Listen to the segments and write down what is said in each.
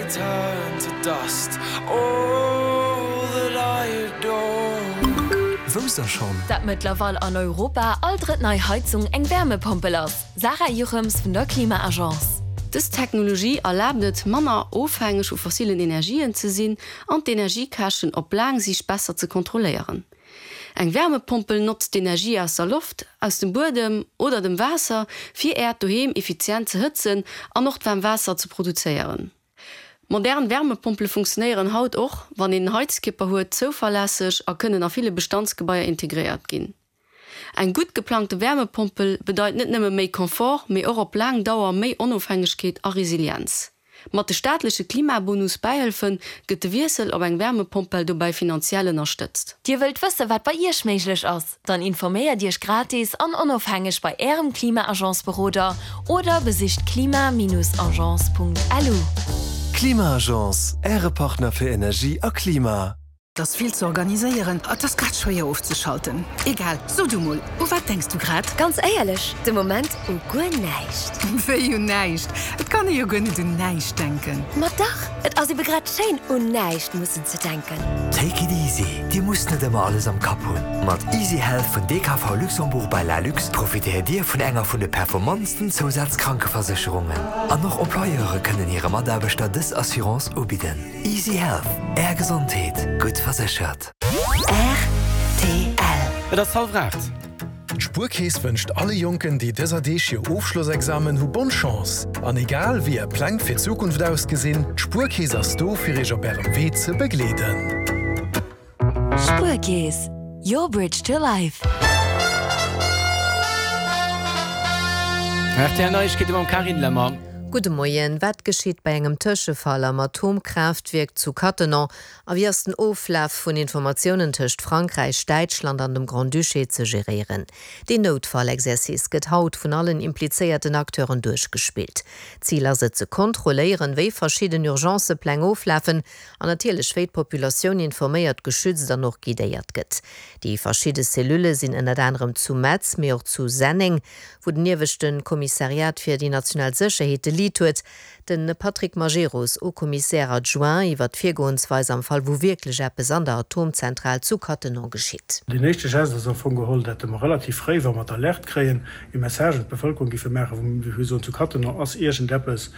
turn to dust all that I adore. Wousst der schonn? Dat mëttlerweil an Europa all drëtt nei Heizung eng Wärmepompel ass, Sarah Juchems vun der Klima-Agence. Dës Technologie erlaabt et, manner ofhängeg vu fossilen Energien ze sinn an d'Energiekäschten op laang Siicht besser ze kontrolléieren. Eng Wärmepompel notzt d'Energie aus der Loft, aus dem Buedem oder dem Waasser, fir Äert Doheem effizient ze hëtzen an och d'waarm Waasser ze produzéieren. Modern Wärmepompele funktionéieren haut och, wann een en Heizkierper huet, zouverlässeg a kënnen a ville Bestandsgebaier integréiert ginn. Eng gutt geplangte Wärmepompel bedeit net nëmme méi Confort, mee och op laang Dauer méi Onofhängegkeet a Resilienz. Mat de staatleche Klimabonus-Bäihëlfe gëtt de Wiessel op eng Wärmepompel dobäi finanziell ënnerstëtzt. Dir wëllt wësse wat bei Iech méiglech ass? Dann informéiert Iech gratis an onofhängeg bei Ärem Klima-Agence-Beroder oder besicht klima-agence.lu. Klima-Agence, Äre Partner fir Energie a Klima. 't ass vill ze organiséieren, a 't ass grad schwéier ofzeschalten. Egal, so du mol, u wat denks du grad? Ganz éierlech, de Moment u guer näischt. Wéi u näischt? Et kann ee jo guer net un näischt denken. Ma dach, et ass ebe grad schéin, un näischt mussen ze denken. Take it easy, Dir musst net ëmmer alles am Kapp hunn. Mat Easy Health vun DKV Luxembourg by Lalux profitéiert Dir vun enger vun de performantsten Zousazkrankeversécherungen. An och Employeure kënnen hire Mataarbechter dës Assurance ubidden. Easy Health, Är Gesondheet, gutt verséchert. Rtl. Et ass hallwer 8. D'Spuerkeess wënscht alle Jonken, déi dëser Deeg hir Ofschlossexamen hu bonne Chance. An egal wéi är Pläng fir d'Zukunft ausgesinn, d'Spuerkeess ass do fir iech op ärem Wee ze begleeden. Spuerkeess, your bridge to life. Rtl Neiegkeete mam Carine Lemmer. Gudde Moien. Wat geschitt bei engem Tëschefall am Atomkraaftwierk zu Cattenom a wéi ass den Oflaf vun Informatiounen tëscht Frankräich, Däitschland an dem Grand-Duché ze geréieren? Deen Noutfall-Exercice gëtt haut vun allen implizéierten Acteuren duerchgespillt. Zil ass et ze kontrolléieren, wéi verschidden Urgencëpläng oflafen An natierlech wéi d'Populatioun informéiert, geschützt an och guidéiert gëtt. Déi verschidde Cellulë sinn ënnert anerem zu Metz, mee och zu Senneng, wou den ieweschte Kommissariat fir déi national Sécherheet de Lead huet. De Patrick Majerus, Haut-Commissaire adjoint, iwwer d'Virgoensweis am Fall wou wierklech eppes an der Atomzentral zu Cattenom geschitt. Deen éischte Geste ass am Fong geholl, dat mer relativ fréi, wa mer d'Alerte kréien, e Message un d'Bevëlkerung géife maachen, wou mir soen, zu Cattenom ass iergendeppes,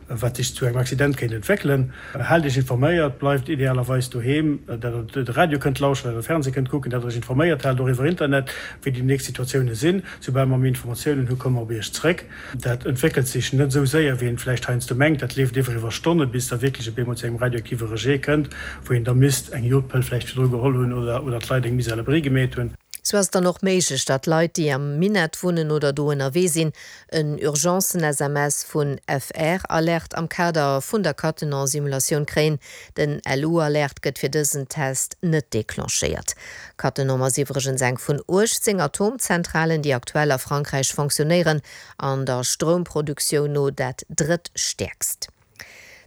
wat sech zu engem Accident kéint entwéckelen. Haalt Iech informéiert, bleift idealerweis doheem, dat der de Radio kënnt lauschteren, dat der Fernseh kënnt kucken, dat der Iech informéiert haalt, och iwwer Internet, wéi déi nächst Situatiounen sinn. Soubal mer méi Informatiounen hu komme mer op Iech zréck. Dat entwéckelt sech net esou séier, wéi een vläicht heiansdo mengt. Dat leeft iwwer iwwer Stonne bis da wierklech op eemol zu engem radioaktive Rejet kënnt, wou een da misst eng Jodpëll vläicht virdru geholl hunn oder oder d'Leit eng Mise à l'abri gemeet hunn. Sou ass et dann och méiglech, datt Leit, déi am Minett wunnen oder do ënnerwee sinn, En Urgencen-SMS vun FR-Alert am Kader vun der Cattenom-Simulatioun kréien. Den LU-Alert gëtt fir dësen Test net declenchéiert. Cattenom ass iwwregens eng vun 18 Atomzentralen, déi aktuell a Frankräich fonctionnéieren an der Stroumproduktioun no dat drëttstäerkst.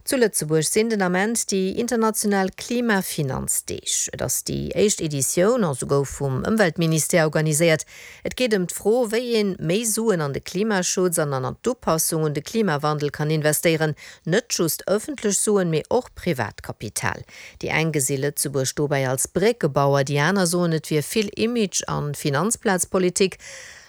Zu Lëtzebuerg sinn den Ament déi international Klimafinanzdeeg. Et ass déi éischt Editioun a se gouf vum Ëmweltministère organiséiert. Et geet ëm d'Fro, wéi een méi Suen an de Klimaschutz an an d'Upassung un de Klimawandel kann investéieren. Net just ëffentlech Suen, mee och privat Kapital. Déi eng gesi Lëtzebuerg dobäi als Bréckebauer, déi aner soen, et wier vill Image an Finanzplazpolitik.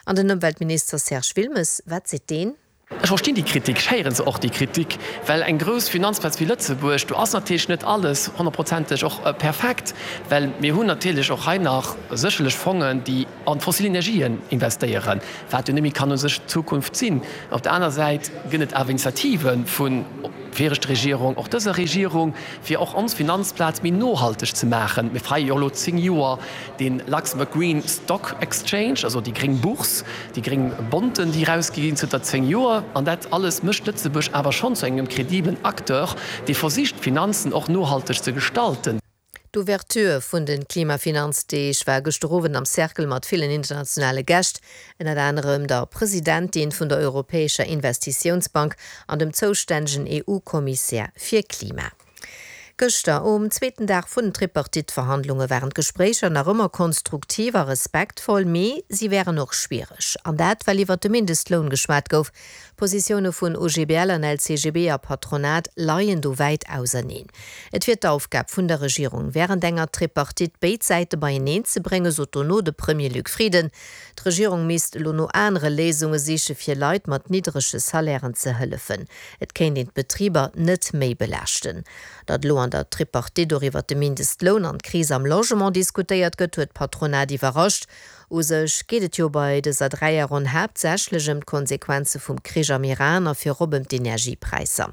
An den Ëmweltminister Serge Wilmes, wat seet deen? Ech verstinn déi Kritik, ech héiere se och, déi Kritik, well eng grouss Finanzplaz wéi Lëtzebuerg, do ass natierlech net alles honnertprozenteg och perfekt, well mir hunn natierlech och hei nach sécherlech Fongen, déi an d'fossil Energien investéieren, wat jo net méi kann u sech d'Zukunft sinn. Op der aner Säit gëtt et awer Initiative vu viregter Regierung, och dëser Regierung, fir och ons Finanzplaz méi nohalteg ze maachen. Mir feiere jo elo 10 Joer dee Luxembourg Green Stock Exchange, also déi gréng Bourse, déi gréng Bonten, déi erausgi ginn zënter 10 Joer. An dat alles mécht Lëtzebuerg awer schonn zu engem kredibelen Acteur, dee versicht, d'Finanzen och nohalteg ze gestalten. D'Ouverture vun de Klimafinanzdeeg war gëschter Owend am Cercle mat villen internationale Gäscht, ënnert anerem der Presidentin vun der Europäescher Investitiounsbank an dem zoustännegen EU-Kommissär fir Klima. Gëschter, um zweeten Dag vun den Tripartite-Verhandlunge waren d'Gespréicher nach ëmmer konstruktiv a respektvoll, mee si wären och schwiereg. An dat, well iwwert de Mindestloun geschwat gouf. D'Positioune vun OGBL an LCGB a Patronat leien do wäit auserneen. Et wier d'Aufgab vun der Regierung, wärend enger Tripartite béid Säite beieneen ze bréngen, sot dono de Premier Luc Frieden. D'Regierung misst elo no anere Léisunge siche fir Leit mat niddrege Salairen ze hëllefen. Et kéint een d'Betriber net méi belaaschten. Datt elo an der Tripartite och iwwer de Mindestloun an d'Kris am Logement diskutéiert gëtt, huet d'Patronat iwwerrascht. U sech geet et jo bei dëser Dräierronn haaptsächlech ëm d'Konsequenze vum Krich am Iran a virop ëm d'Energiepräisser.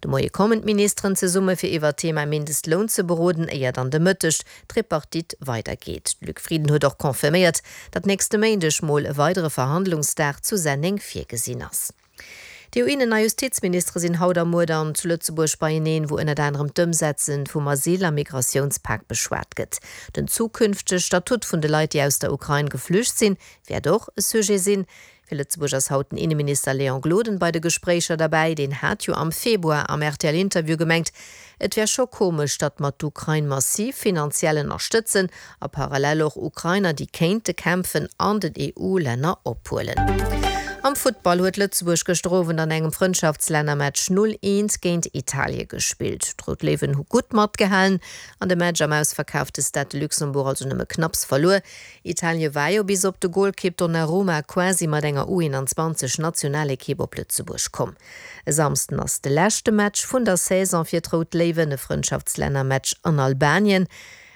De Moie kommen d'Ministeren zesumme fir iwwer d'Thema Mindestloun ze beroden, éier dann de Mëtteg d'Tripartite weidergeet. De Luc Frieden huet och confirméiert, datt nächste Méindeg mol e weidere Verhandlungsdag zu Senneng virgesinn ass. D'EU-Innen a Justizministere sinn haut a muer dann zu Lëtzebuerg beieneen, wou ënnert anerem d'Ëmsetze vum Asyl a Migratiounspak beschwat gëtt. Den zukünftege Statut vun de Leit, déi aus der Ukrain geflücht sinn, wäert och e Sujet sinn. Fir Lëtzebuerg ass haut den Inneminister Léon Gloden bei de Gespréicher derbäi. Deen hat jo am Februar am RTL-Interview gemengt, et wär scho komesch, datt mer d'Ukrain massiv finanziell ënnerstëtzen A parallel och Ukrainer, déi kéinte kämpfen, an den EU-Länner ophuelen. Am Futtball huet Lëtzebuerg gëschter Owend an engem Frëndschaftslännermatch 0, 1 géint Italie gespillt. D'Rout Léiwen hu gutt matgehalen an de Match am ausverkaafte Stade de Luxembourg also nëmme knapps verluer. Italie war jo bis op de Golkipp Donnarumma quasi mat enger U21 Nationalekipp op Lëtzebuerg komm. E Samsden ass de leschte Match vun der Saison fir d'Rout Léiwen, e Frëndschaftslännermatch an Albanien.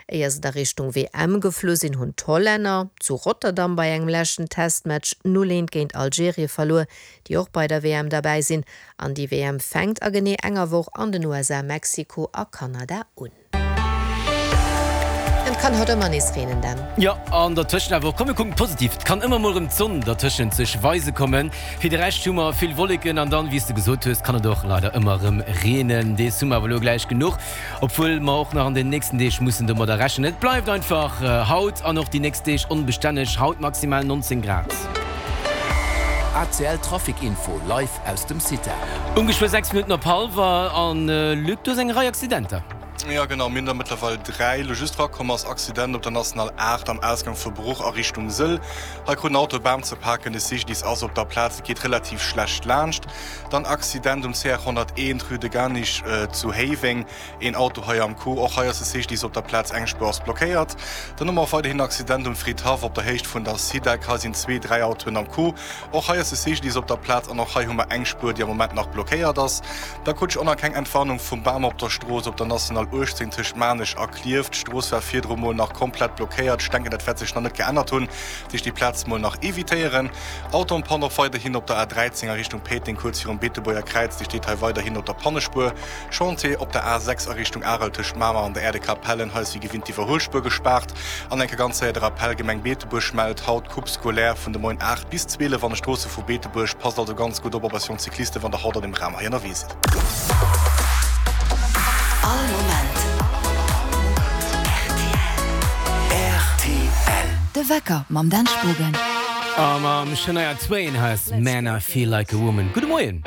Éier se da Richtung WM geflu sinn, hunn d'Hollänner zu Rotterdam bei engem leschten Testmatch 0, 1 géint Algerien verluer, déi och bei der WM derbäi sinn. An déi WM fänkt a genee enger Woch an den USA, Mexiko a Kanada un. Et kann haut ëmmer nees reenen, Dan. Jo, an dertëschent awer och, komm mir kucken positiv, et kann ëmmer mol erëm d'Sonn dertëschent sech weise kommen. Fir de Rescht hu mer vill Wolleken an dann, wéi s de gesot hues, kann et och leider ëmmer erëm reenen. Dees hu mer awer elo gläich genuch. Obwuel mer och nach an den nächsten Deeg mussen domadder rechnen. Et bleift einfach haut an och déi nächst Deeg onbestänneg, haut maximal 19 Grad. ACL Trafic Info live aus dem CITA. Um geschwë 6 Minutten op hallwer an Luc, du hues eng Rei Accidenter. Jo genau, mir hunn der mëttlerweil 3. Elo just rakomm ass Accident op der National 8 am Ausgang vu Bruch a Richtung Sëll. Hei krut en Auto e Bam ze paken, de CGDIS ass op der Plaz, et geet relativ schlecht laanscht. Dann Accident um CR 101, Rue de Garnich zu Héiweng, een Auto hei am Coup. Och hei ass de CGDIS op der Plaz, eng Spuer ass blockéiert. Dann hu mer och weiderhin Accident um Fridhaff op der Héicht vun der Sidec, hei sinn zwee, dräi Autoen am Coup. Och hei ass de CGDIS op der Plaz an och hei hu mer eng Spuer, déi am Moment nach blockéiert ass. Da krut ech och nach keng Entwarnung vum Bam op der Strooss op der National 18 tëscht Maarnech a Klierf. D'Strooss war virdru mol nach komplett blockéiert. Ech denken, dat wäert sech nach net geännert hunn, dat heescht déi Plaz mol nach evitéieren. Auto en panne och weiderhin op der A13 a Richtung Péiteng, kuerz virum Beetebuerger Kräiz. Déi steet hei weiderhin op der Pannespuer. Chantier op der A6 a Richtung Arel tëscht Mamer an der Aire de Capellen. Hei ass wéi gewinnt d'Iwwerhuelspuer gespaart. An enke ganz séier de Rappell, Gemeng Beetebuerg mellt haut Coupe scolaire vun de Moien 8 bis 12 an de Stroosse vu Beetebuerg. Passt also ganz gutt op op eis jonk Cyclisten, wann der haut an dem Raum hei ënnerwee sidd. All Moment rtl. De Wecker mam Dan Spogen. A mam Shania Twain hei ass Man I Feel Like a Woman. Gudde Moien.